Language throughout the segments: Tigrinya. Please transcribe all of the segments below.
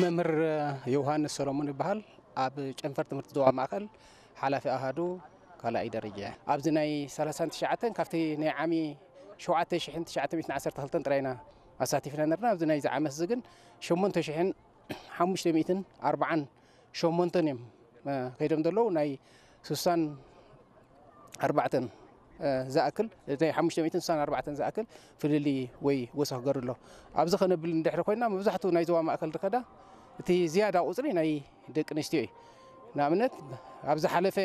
መምህር ዮሃንስ ሰሎሞን ይበሃል። ኣብ ጨንፈር ትምህርቲ ዞባ ማእከል ሓላፊ ኣሃዱ ካልኣይ ደረጃ እየ። ኣብዚ ናይ ሰላሳን ትሽዓተን ካብቲ ናይ ዓሚ ሸውዓተ ሽሕን ትሽዓተ ሚእትን ዓሰርተ ክልተን ጥራይ ኢና ኣሳቲፍና ነርና። ኣብዚ ናይዚ ዓመት እዚ ግን ሸሞንተ ሽሕን ሓሙሽተ ሚእትን ኣርባዓን ሸሞንተን እዮም፣ እ፣ ከይዶም ዘለዉ። ናይ ስሳን ኣርባዕተን፣ እ፣ ዝኣክል፣ ናይ ሓሙሽተ ሚእትን ስሳን ኣርባዕተን ዝኣክል ፍልልይ ወይ ወሰኽ ገሩ ኣሎ። ኣብዚ ከነብል እንድሕሪ ኮይና፣ መብዛሕትኡ ናይ ዞባ ማእከል ዝኸዳ፣ እቲ ዝያዳ ቁጽሪ ናይ ደቂ ኣንስትዮ እዩ። ንኣብነት፣ ኣብ ዝሓለፈ፣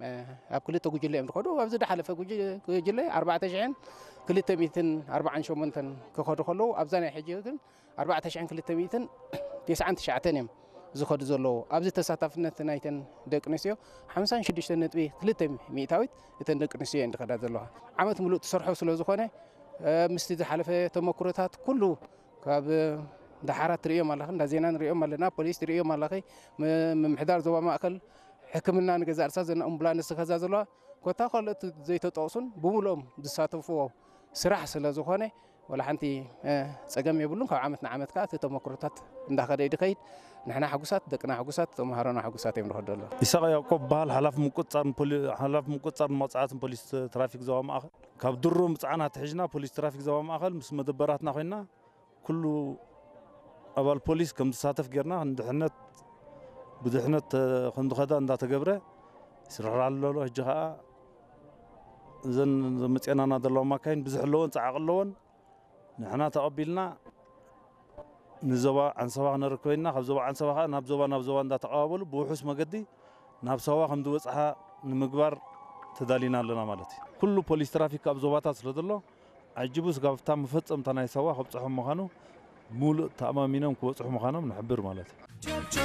እ፣ ኣብ ክልተ ጉጅለ እዮም ዝኸዱ። ኣብዚ ዝሓለፈ ጉጅ-፣ ጉጅለ ኣርባዕተ ሽሕን ክልተ ሚእትን ኣርባዓን ሸሞንተን ክኸዱ ከለዉ፣ ኣብዛ ናይ ሕጂ ግን ኣርባዕተ ሽሕን ክልተ ሚእትን ተስዓን ትሽዓተን እዮም ዝኸዱ ዘለዉ። ኣብዚ ተሳታፍነት ናይተን ደቂ ኣንስትዮ ሓምሳን ሽዱሽተን ነጥቢ ክልተ ሚእታዊት እተን ደቂ ኣንስትዮ እየን ዝኸዳ ዘለዋ። ዓመት ምሉእ ትሰርሖ ስለ ዝኾነ፣ እ፣ ምስቲ ዝሓለፈ ተመክሮታት ኩሉ ካብ፣ እ፣ ዳሓራት ትርእዮም ኣለኺ፣ እንዳ ዜና ንርእዮም ኣለና፣ ፖሊስ ትርእዮም ኣለኺ፣ ም-፣ ምምሕዳር ዞባ ማእከል፣ ሕክምና ንገዛእ ርእሳ ዘና ኣምቡላንስ ዝኸዛ ዘለዋ፣ ኮታ ካልኦት ዘይተጠቕሱን ብምሉኦም ዝሳተፍዎ ስራሕ ስለ ዝኾነ፣ ወላ ሓንቲ፣ እ፣ ጸገም የብሉን። ካብ ዓመት ንዓመት ከኣ እቲ ተመክሮታት እንዳኸደ እዩ ዝኸይድ። ንሕና ሕጉሳት፣ ደቅና ሕጉሳት፣ ተመሃሮና ሕጉሳት እዮም ዝኸዱ ኣለዉ። ይስሐቅ ያዕቆብ በሃል፣ ሓላፊ ምቁጽጻርን ፖሊ-፣ ሓላፊ ምቁጽጻርን መቕጻዕትን ፖሊስ ትራፊክ ዞባ ማእከል። ካብ ድሮ ምጽዓን ኣትሒዝና ፖሊስ ትራፊክ ዞባ ማእከል ምስ መደበራትና ኮይንና ኩሉ ኣባል ፖሊስ ከም ዝሳተፍ ጌርና፣ ንድሕነት፣ ብድሕነት፣ እ፣ ከም ዝኸዳ እንዳተገብረ ይስራሕ ኣሎ። ሕጂ ኸኣ እዘን መጽኤናና ዘለዋ ማካይን ብዙሕ ኣለወን፣ ጸዓቕ ኣለወን። ንሕና ተቐቢልና ንዞባ ዓንሰባ ክነረክበ ኢና። ካብ ዞባ ዓንሰባ ኸኣ ናብ ዞባ፣ ናብ ዞባ እንዳተቐባበሉ ብውሑስ መገዲ ናብ ሳዋ ከም ዝበጽሓ ንምግባር ተዳሊና ኣለና ማለት እዩ። ኩሉ ፖሊስ ትራፊክ ኣብ ዞባታት ስለ ዘሎ፣ ዓጂቡ ስጋብ ኣብታ መፈጸምታ ናይ ሳዋ ከብጽሖም ምዃኑ፣ ሙሉእ ተኣማሚኖም ክበጽሑ ምዃኖም ንሕብር ማለት እዩ።